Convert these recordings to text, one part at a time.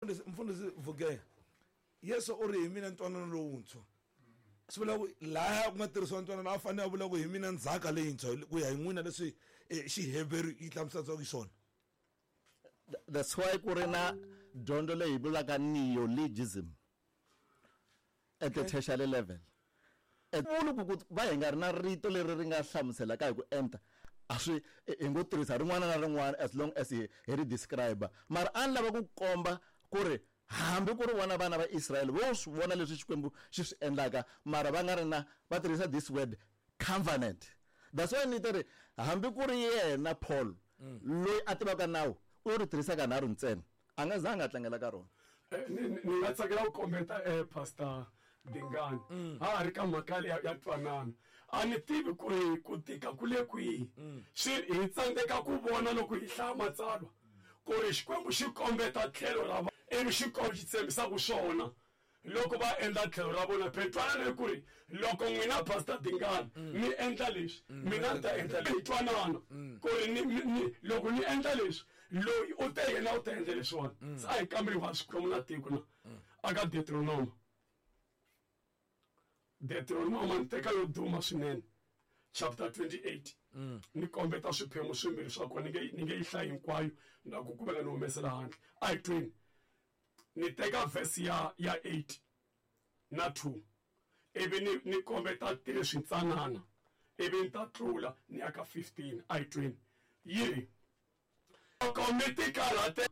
Mfundhisi Vugeya, Yesu u ri hi mina ntwanano lowuntshwa. Swi vula ku laya ku nga tirhisiwa ntwanano a fanele a vula ku hi mina ndzhaka leyintshwa ku ya hi n'wina leswi eh, Xiheveru yi hlamuselaka xiswona. That's why ku ri na dyondzo leyi vulaka neologism at the tertiary level. Vuli ku ku va hi nga ri na rito leri ri nga hlamuselaka hi ku enta a swi hi ngo tirhisa rin'wana na rin'wana as long as hi hi ri describe mara a ni lava ku komba ku ri hambi ku ri vona vana va Israyele vo swi vona leswi Xikwembu xi swi endlaka mara va nga ri na va tirhisa this word covenant. That's why ni ri hambi ku ri yena Paul loyi a tivaka nawu u ri tirhisa kanharhu ntsena a nga zanga a tlangela ka rona. Ni nga tsakela ku kombeta Pastor Dingani ha ha ri ka mhaka ya ya ntwanano. A ni tivi ku ri ku tika ku le kwihi swi hi tsandzeka ku vona loko hi hlaya matsalwa ku ri Xikwembu xi kombeta tlhelo ra ivi xi xi tshembisaka swona loko va endla tlhelo ra vona. Phela ntwanano i ku ri loko n'wina Pastor Dingani mi endla leswi mina ni ta endla leswi. Hi twanana ku ri ni ni loko ni endla leswi loyi u te yena u ta endla leswiwani. Se a hi kamberiwa Xikwembu na tiko na aka Deuteronoma. Deuteronoma ni teka yo duma swinene chapter 28 ni kombeta swiphemu swimbirhi swa kona ni nge yi hlayi hinkwayo na ku kumeka ni humesela handle. A hi tweni ni teka verse ya 8 na 2 ivi ni kombeta 3 swintsanana ivi ni ta tlula ni ya ka 15. A hi tweni yi ri loko mi tikarhate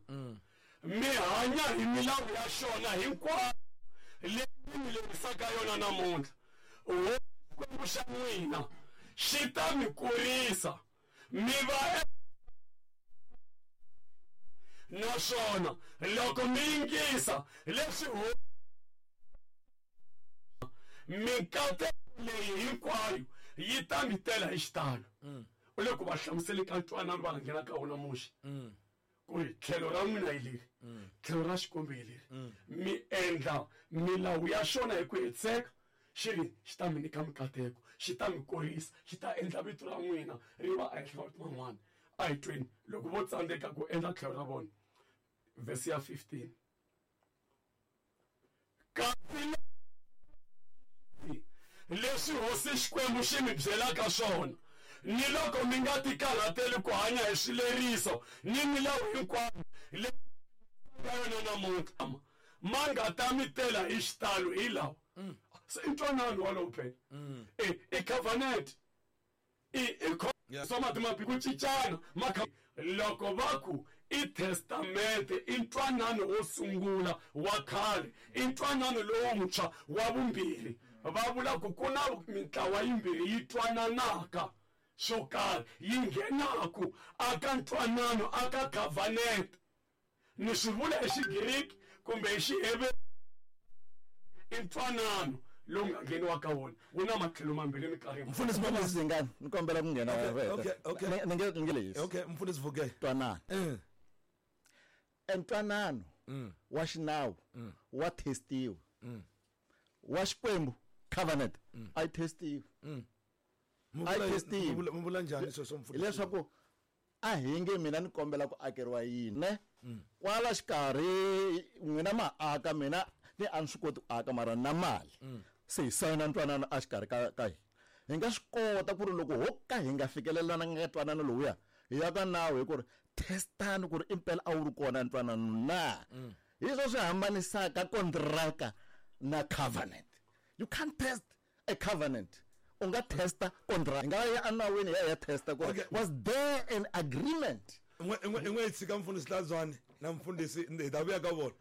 mi hanya hi milawu ya xona hinkwayo leyi ni mi lerisaka yona namuntlha, Hosi Xikwembu xa n'wina xi ta mi kurisa mi va naswona loko mi yingisa leswi Hosi mikateko leyi hinkwayo yi ta mi tela hi xitalo. U le ku va hlamuseli ka ntwanano va nga nghena ka wona Muxe ku ri tlhelo ra n'wina hi leri, tlhelo ra Xikwembu hi leri, mi endla milawu ya xona hi ku hetiseka, xi ri xi ta mi nyika mikateko, xi ta mi kurisa, xi ta endla vito ra n'wina ri va ehenhla ka mavito man'wana. A hi tweni loko vo tsandzeka ku endla tlhelo ra vona, vhesi ya 15. Kasi leswi Hosi Xikwembu xi mi byelaka swona, ni loko mi nga tikarhateli ku hanya hi swileriso ni milawu hinkwayo leyi ka yona namuntlha, ma nga ta mi tela hi xitalo hi lawa. Se i ntwanano walowo phela, i covenant. I i swa mati mapi ku cincana ma loko va ku i testamente i ntwanano wo sungula wa khale i ntwanano lowuntshwa wa vumbirhi va vula ku ku na mintlawa yimbirhi yi twananaka swo karhi yi nghenaku aka ntwanano aka covenant ni swi vula hi Xigiriki kumbe hi Xiheveru i ntwanano lowu nga ngheniwa ka wona wu na matlhelo mambirhi minkarhi hinkwayo. Mfundhisi Mfundhisi Dingani, ni kombela ku nghena Okay, reta. okay, okay. Ni nge lehisi. Okay, Mfundhisi Vuge. Ntwanano. Entwanano wa xinawu wa testiwa. Wa Xikwembu covenant a yi testiwi. A yi testiwi. Mu vula njhani sweswo Mfundhisi? Hileswaku a hi nge mina ni kombela ku akeriwa yini ne kwala xikarhi n'wina ma aka mina ni a ni swi koti ku aka mara ni na mali se hi sayina ntwanano a xikarhi ka hina hi nga swi kota ku ri loko ho ka hi nga fikelelana ka ntwanano lowuya hi ya ka nawu hi ku ri testani ku ri impela a wu ri kona ntwanano na hi swo swi hambanisaka kontraka na covenant. You can't test a covenant. U nga testa contract. Hi nga ya enawini hi ya hi ya testa ku ri Okay. was there an agreement? In'we hi tshika mfundhisi Hlanzwani na mfundhisi hi ta vuya ka vona.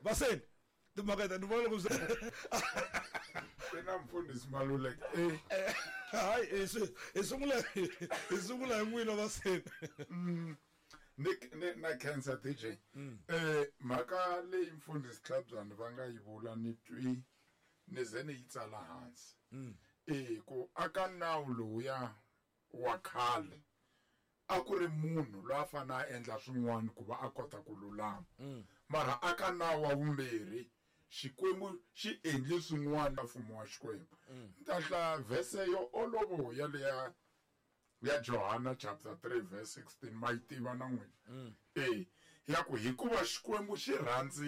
Vaseni timhaka ta ni vona loko swi Ku na mfundhisi Maluleke. Hayi, hi sungula hi n'wina Vaseni. Ni na khensa DJ. Mhaka leyi mfundhisi Tlhabyani va nga yi vula ni twi ni ze ni yi tsala hansi. Ku aka nawu lowuya wa khale a ku ri munhu loyi a fanele a endla swin'wana ku va a kota ku lulama. Mara aka nawu wa vumbirhi Xikwembu xi endle swin'wana mfumo wa Xikwembu. Ni ta hlaya verse yo olovo ya leya ya Johana chapter 3 verse 16 ma yi tiva na n'wina. Ya ku hikuva Xikwembu xi rhandzi.